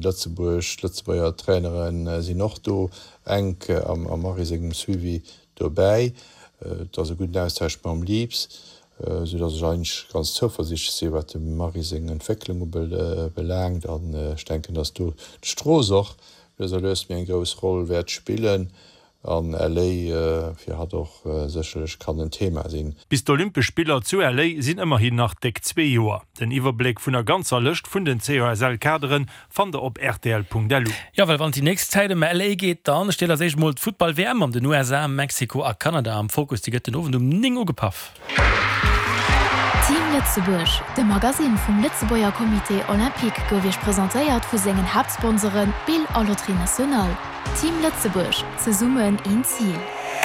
Lëtzebuerg, d'Lëtzebuerger Trainere sinn och do enk am Marie sengem Suivi dobäi. Et ass e gudden Austausch mam Leaps, esou datt ech eigentlech ganz zouversiichtlech sinn, wat dem Marie seng Entwécklung ubelaangt. An ech denken, datt do d'Strooss och lues a lues méi eng grouss Roll wäert spillen an LA fir hatt och sécherlech kann en Thema sinn. Bis d'Olympesch Spiller zu LA sinn ëmmerhin nach déck zwee Joer. Den Iwwerbléck vun der ganzer Lëscht vun den COSL-Kadere fannt der op rtl.lu. Jo, well wann et déi nächst Zäit ëm LA geet, dann steet als éischt mol d'Futtball-WM an den USA, Mexiko a Kanada am Fokus. Déi gëtt den Owend um 9 ugepaff. Team Lëtzebuerg, de Magasinn vum Lëtzebuerger Comité Olympique gouf Iech presentéiert vu sengen Haaptsponsoren Bill a Loterie Nationale. Team Lëtzebuerg, zesummen een Zil.